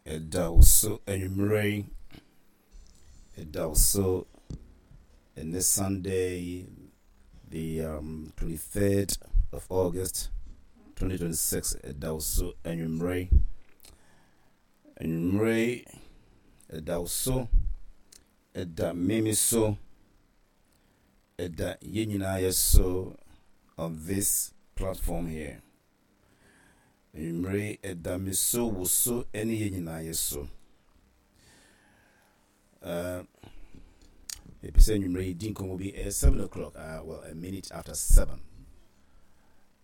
Ɛda wo so anwummerɛ yi. Ɛda wo so ɛnɛ Sunday, the 23rd of August 2026. Ɛda wo so anwummerɛ yi. Anwummerɛ yi, ɛda wo so, ɛda mimi so, ɛda yɛn nyinaa yɛ so on this platform here. Anwummere yi, ɛda me so, wo so, ne yɛn nyinaa yɛ so. Mepɛ sɛ anwummere yi di nkɔmmɔ bi. Ɛyɛ 7 o'clock, well, a minute after 7.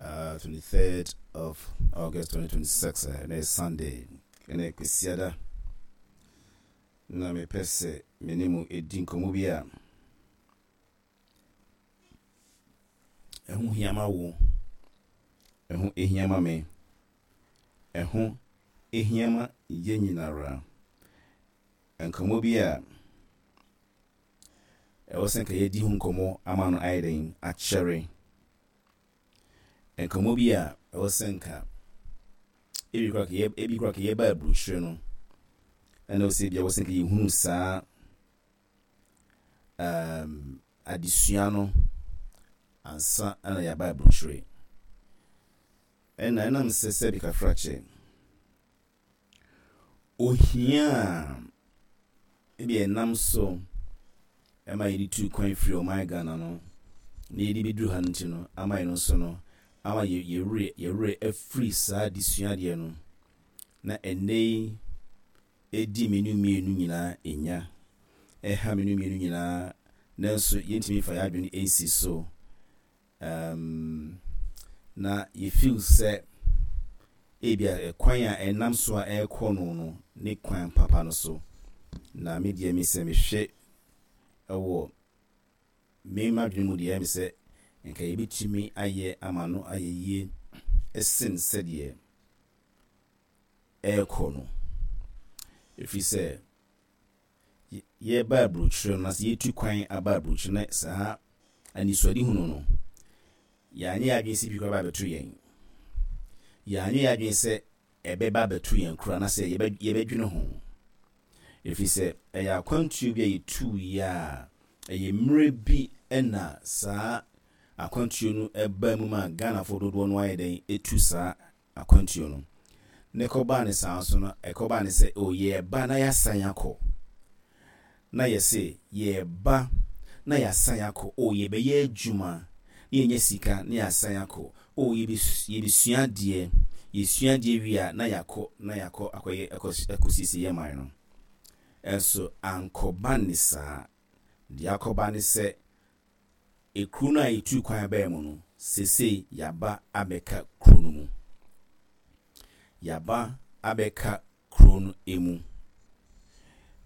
23rd of August 2026, ɛnɛ yɛ Sunday, ɛnɛ yɛ Kwasiada. Na mepɛ sɛ me ne mo di nkɔmmɔ bi a ɛho hia ma wo, ɛho hia ma me, ɛho hia ma yɛn nyinara. Nkɔmmɔ bi a ɛwɔ sɛ nka yɛdi ho nkɔmmɔ ama no ayɛ den akyɛre. Nkɔmmɔ bi a ɛwɔ sɛ nka ebi koraa ka yɛba aburokyire no, ɛna ɔsɛ bi a ɛwɔ sɛ nka yɛhunu saa adesua no ansa na yɛaba aburokyire. Ɛna ɛnam sɛ sɛbi kafrakyɛ, ohia a ebi ɛnam so ɛma yɛde tu kwan firi ɔman Ghana no na yɛde bɛduru ha no nti no, ama yɛn nso no, ama yɛwerɛ afiri saa adesua deɛ no, na ɛnnɛ yi ɛdi me ne mmienu nyinaa ɛnya, ɛha me ne mmienu nyinaa, nanso yɛntumi mfa yɛn adwene nsi so na yɛ feel sɛ ebia ɛkwan a ɛnam so a ɛrekɔ no ne kwan papa no so. Na me deɛ, me sɛ mehwɛ ɛwɔ me m'adwene mu deɛ, ɛyɛ me sɛ nka yɛbɛtumi ayɛ ama no ayɛ yie ɛsen sɛdeɛ ɛrekɔ no, ɛfiri sɛ yɛreba aburokyire no na sɛ yɛtu kwan aba aburokyire na saa anisoadehunu no, yɛanyɛ yɛn adwene sɛ bi koraa ba abɛto yɛn. Yɛanyɛ yɛn adwene sɛ ɛbɛba abɛto yɛn koraa na sɛ yɛbɛdwene ho, ɛfiri sɛ ɛyɛ akwantuo bi a yɛtuu yi a ɛyɛ mmerɛ bi na saa akwantuo no ɛbaa mu ma Ghanafoɔ dodoɔ no ayɛ dɛn ɛtu saa akwantuo no. Ne kɔbaa ne saa nso no, ɛkɔbaa ne sɛ, o, yɛreba na yɛasan akɔ. Na yɛse yɛreba na yɛasan akɔ. O, yɛbɛyɛ adwuma na yɛnya sika na yɛasan akɔ. O, yɛbɛsua adeɛ, yɛsua adeɛ wie a na yɛakɔ na yɛakɔ akɔyɛ akɔsiesie yɛn man no. Ɛnso ankɔba ne saa. Deɛ akɔba ne sɛ, ekuro no a yɛtuu kwan baa mu no, seesei yɛaba abɛka kuro no mu. Yɛaba abɛka kuro no mu.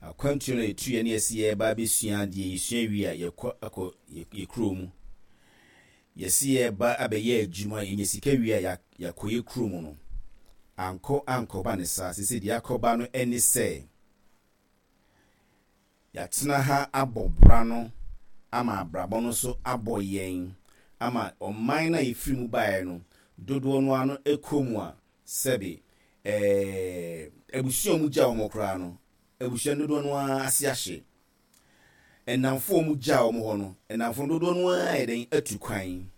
Akwantuo no a yɛtuiɛ ne yɛsi yɛreba abɛsua adeɛ, yɛsua wie a yɛkɔ akɔ yɛ kuro mu. Yɛsi yɛreba abɛyɛ adwuma, yɛnya sika wie a yɛakɔ yɛ kuro mu no, ankɔ ankɔba ne saa. Seesei deɛ akɔba no ne sɛ, yɛatena ha abɔ bra no ama abrabɔ no nso abɔ yɛn ama ɔman no a yɛfiri mu baeɛ no, dodoɔ no ano kɔ mu a, sɛbe abusua a wɔn gya wɔn koraa no, abusua no dodoɔ no ara ase ahye. Nnamfo a wɔn gya wɔn hɔ no, nnamfo no dodoɔ no ara yɛ dɛn atu kwan.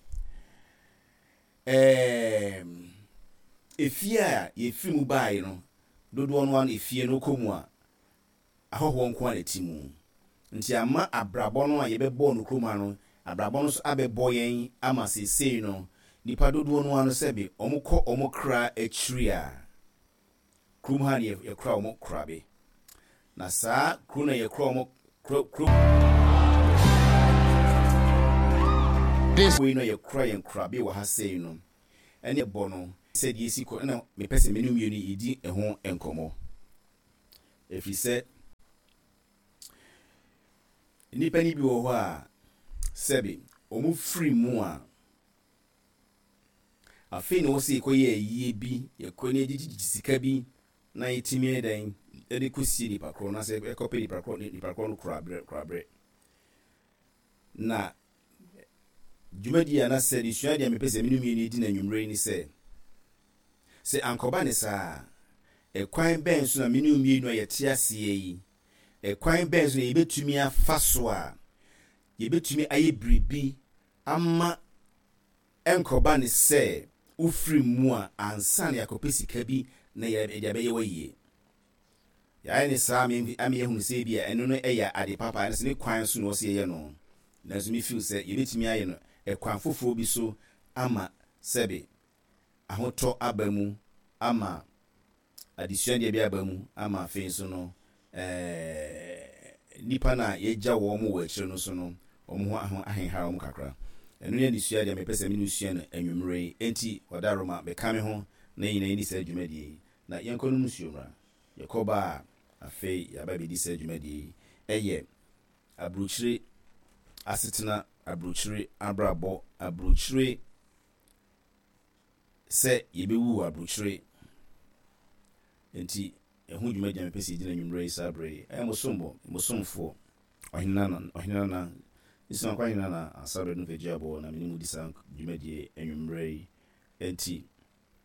Efie a yɛfiri mu baeɛ no, dodoɔ no ara no efie no kɔ mu a, ahɔhoɔ nko ara na ɛte mu. Nti ama abrabɔ no a yɛbɛbɔɔ no kurom ha no, abrabɔ no nso abɛbɔ yɛn ama seesei no, nnipa dodoɔ no ara no sɛbe wɔkɔ wɔn kra akyiri a, kurom ha na yɛkora wɔn korabe. Na saa kuro na yɛkora wɔn kuro kuro wei no yɛkora yɛn korabe wɔ ha sei no, ɛne bɔ no sɛdeɛ ɛsi kɔ, ɛna mepɛ sɛ me ne mmienu yɛdi ɛho nkɔmmɔ. Ɛfiri sɛ nnipa no bi wɔ hɔ a, sɛbe wɔn firi mu a, afei na wɔsɛ yɛkɔyɛ ayie bi, yɛkɔ ne yɛgyegyegye sika bi na yɛtumi yɛ dɛn de kɔsie nipa korɔ na sɛ ɛkɔpɛ nipa korɔ no koraberɛ. Na dwumadi a na sɛ desua deɛ mepɛ sɛ me ne mmienu di no anwummerɛ yi ne sɛ, sɛ ankɔba ne saa a, Ɛkwan bɛn so na me ne wo mmienu a yɛte aseɛ yi, ɛkwan bɛn so na yɛbɛtumi afa so a yɛbɛtumi ayɛ biribi ama ɛnkɔba ne sɛ wofiri mu a ansa na yɛakɔpɛ sika bi na yɛde abɛyɛ w'ayie. Yɛayɛ no saa ama yɛahunu sɛ ebia ɛno no yɛ ade papa anaasɛ ne kwan so na ɔsɛ yɛyɛ no. Nanso me feel sɛ yɛbɛtumi ayɛ no ɛkwan foforɔ bi so ama sɛbe ahotɔ aba mu, ama adesuadeɛ bi aba mu, ama afei nso no nnipa no a yɛagya wɔn wɔ akyire no nso no wɔn ho aho ahenhara wɔn kakra. Ɛno ne adesua deɛ mepɛ sɛ me ne wo sua no anwummerɛ yi. Enti Ɔdaroma, bɛka me ho na yɛn nyinaa yɛnni saa dwumadie yi. Na yɛnkɔnom nsuo mmra. Yɛkɔba a, afei yɛaba abɛdi saa dwumadie yi. Ɛyɛ aburokyire asetena, aburokyire abrabɔ, aburokyire sɛ yɛbɛwu wɔ aburokyire. Enti ɛho dwumadie a mepɛ sɛ yɛdi no anwummerɛ yi saa berɛ yi. Ɛyɛ mo sombo, mo somfoɔ, Ɔhene Nana, Ɔhene Nana, Nsumankwa Hene Nana Asare no Kagyiabɔ na me ne mo di saa dwumadie anwummerɛ yi. Enti,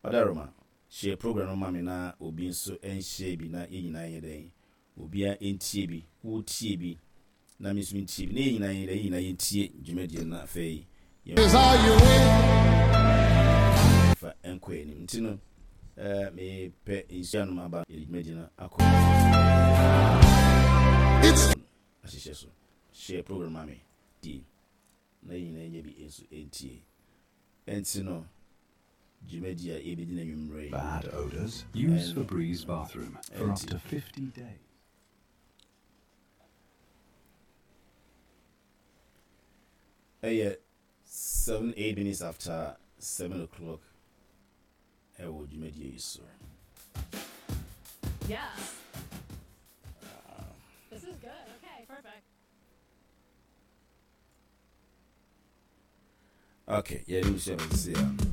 Ɔdaroma, Share program no ma me na obi nso nshare bi na yɛn nyinaa nyɛ dɛn? Obiara ntie bi, wo tie bi na me nso mentie bi na yɛn nyinaa nyɛ dɛn? Yɛn nyinaa yɛntie dwumadie no na afei yɛmfa nkɔ yɛn anim. Nti no, eh, mepɛ nsuo anom aba yɛde dwumadie no akɔ ahyehyɛ so. Share program ma me die na yɛn nyinaa nyɛ bi nso ntie. Nti no, dwumadi a yɛbɛdi no anwummerɛ yi. Bad odors? Use Febreze bathroom for up to 50 days. Ɛyɛ 7, 8 minutes after 7 o'clock ɛwɔ dwumadie yi so. Yeah. This is good. Okay, perfect. Okay, yɛde nhyɛ no sisi a.